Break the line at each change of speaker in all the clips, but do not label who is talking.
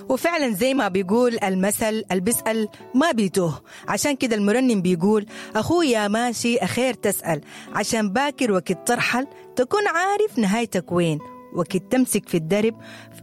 وفعلا زي ما بيقول المثل، البسأل ما بيتوه. عشان كده المرنم بيقول: أخويا ماشي أخير تسأل، عشان باكر وقت ترحل تكون عارف نهايتك وين، وقت تمسك في الدرب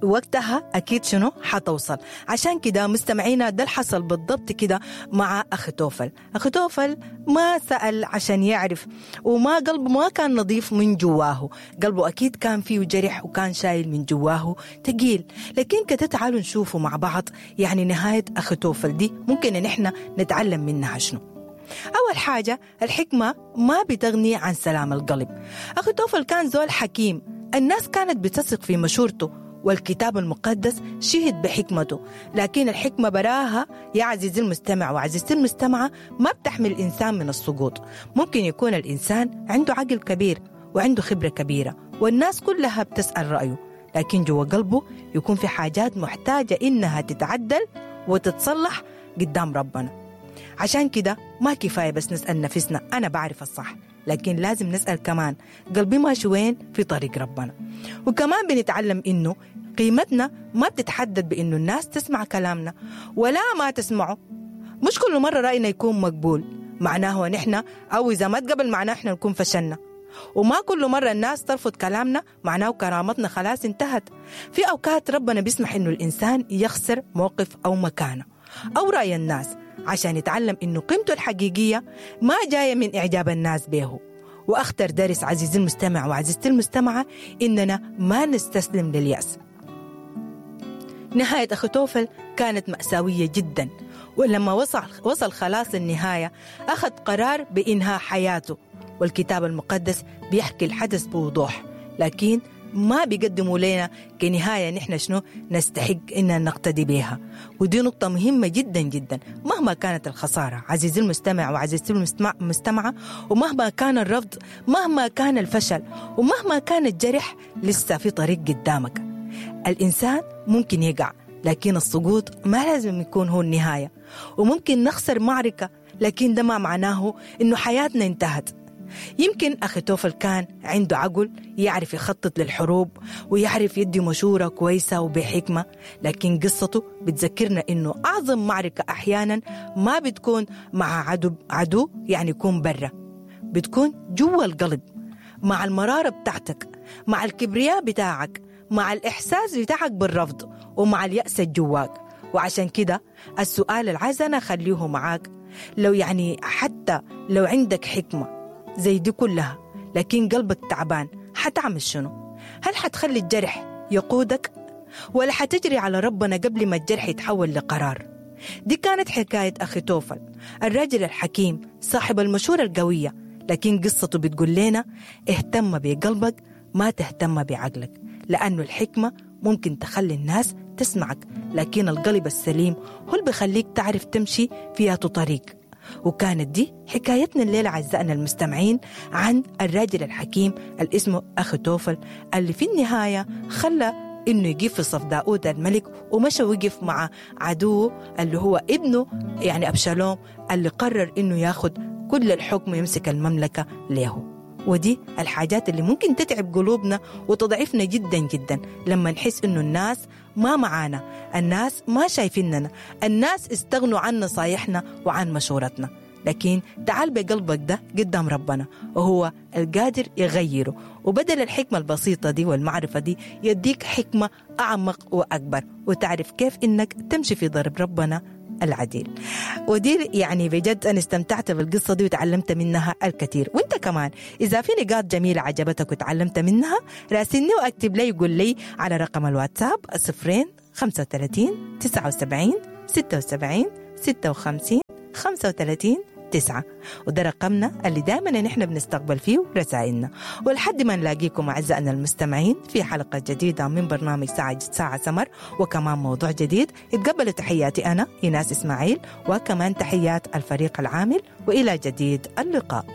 وقتها أكيد شنو حتوصل. عشان كده مستمعينا ده الحصل بالضبط كده مع أخيتوفل. أخيتوفل ما سأل عشان يعرف، وما قلبه ما كان نظيف من جواه، قلبه أكيد كان فيه جرح وكان شايل من جواه تقيل. لكن كده تعالوا نشوفه مع بعض يعني نهاية أخيتوفل دي ممكن إن إحنا نتعلم منها شنو. أول حاجة، الحكمة ما بتغني عن سلام القلب. أخيتوفل كان زول حكيم، الناس كانت بتثق في مشورته، والكتاب المقدس شهد بحكمته. لكن الحكمة براها يا عزيزي المستمع وعزيزتي المستمعة ما بتحمي الإنسان من السقوط. ممكن يكون الإنسان عنده عقل كبير وعنده خبرة كبيرة والناس كلها بتسأل رأيه، لكن جوا قلبه يكون في حاجات محتاجة إنها تتعدل وتتصلح قدام ربنا. عشان كده ما كفاية بس نسأل نفسنا أنا بعرف الصح، لكن لازم نسأل كمان قلبي ماشي وين في طريق ربنا. وكمان بنتعلم إنه قيمتنا ما بتتحدد بإنه الناس تسمع كلامنا ولا ما تسمعه. مش كل مرة رأينا يكون مقبول معناه نحن، أو إذا ما تقبل معناه إحنا نكون فشلنا. وما كل مرة الناس ترفض كلامنا معناه كرامتنا خلاص انتهت. في أوقات ربنا بيسمح إنه الإنسان يخسر موقف أو مكانه أو رأي الناس عشان يتعلم إنه قيمته الحقيقية ما جاية من إعجاب الناس به. وأخطر درس عزيزي المستمع وعزيزتي المستمعة إننا ما نستسلم لليأس. نهاية أخيتوفل كانت مأساوية جدا، ولما وصل خلاص النهاية أخذ قرار بإنهاء حياته. والكتاب المقدس بيحكي الحدث بوضوح، لكن ما بيقدموا لنا كنهاية نحن شنو نستحق إن نقتدي بها. ودي نقطة مهمة جدا جدا. مهما كانت الخسارة عزيزي المستمع وعزيزتي المستمعة، ومهما كان الرفض، مهما كان الفشل، ومهما كان الجرح، لسه في طريق قدامك. الإنسان ممكن يقع، لكن السقوط ما لازم يكون هو النهاية. وممكن نخسر معركة، لكن ده ما معناه إنه حياتنا انتهت. يمكن أخيتوفل كان عنده عقل يعرف يخطط للحروب ويعرف يدي مشورة كويسة وبحكمة، لكن قصته بتذكرنا إنه أعظم معركة أحيانا ما بتكون مع عدو يعني يكون برا، بتكون جوا القلب، مع المرارة بتاعتك، مع الكبرياء بتاعك، مع الإحساس بتاعك بالرفض، ومع اليأس الجواك. وعشان كده السؤال العايز أنا أخليه معاك، لو يعني حتى لو عندك حكمة زي دي كلها لكن قلبك تعبان، حتعمل شنو؟ هل حتخلي الجرح يقودك ولا حتجري على ربنا قبل ما الجرح يتحول لقرار؟ دي كانت حكاية أخيتوفل، الراجل الحكيم صاحب المشورة القوية، لكن قصته بتقول لنا اهتم بقلبك ما تهتم بعقلك، لأنه الحكمة ممكن تخلي الناس تسمعك، لكن القلب السليم هو اللي بيخليك تعرف تمشي فيها طريق. وكانت دي حكايتنا الليلة أعزائنا المستمعين عن الراجل الحكيم اللي اسمه أخيتوفل، اللي في النهاية خلى إنه يقف في صف داود الملك، ومشى وقف مع عدوه اللي هو ابنه يعني أبشالوم، اللي قرر إنه ياخد كل الحكم ويمسك المملكة له. ودي الحاجات اللي ممكن تتعب قلوبنا وتضعفنا جدا جدا لما نحس إنه الناس ما معانا، الناس ما شايفيننا، الناس استغنوا عن نصايحنا وعن مشورتنا. لكن تعال بقلبك ده قدام ربنا، وهو القادر يغيره، وبدل الحكمة البسيطة دي والمعرفة دي يديك حكمة أعمق وأكبر، وتعرف كيف إنك تمشي في ضرب ربنا العديل. ودي يعني بجد أنا استمتعت بالقصة دي وتعلمت منها الكثير. وانت كمان إذا في نقاط جميلة عجبتك وتعلمت منها راسلني وأكتب لي وقول لي على رقم الواتساب 0 35 79 76 56 35 9، وده رقمنا اللي دائما نحن بنستقبل فيه رسائلنا. ولحد ما نلاقيكم أعزائنا المستمعين في حلقة جديدة من برنامج ساعة سمر، وكمان موضوع جديد، اتقبلوا تحياتي أنا إيناس إسماعيل، وكمان تحيات الفريق العامل، وإلى جديد اللقاء.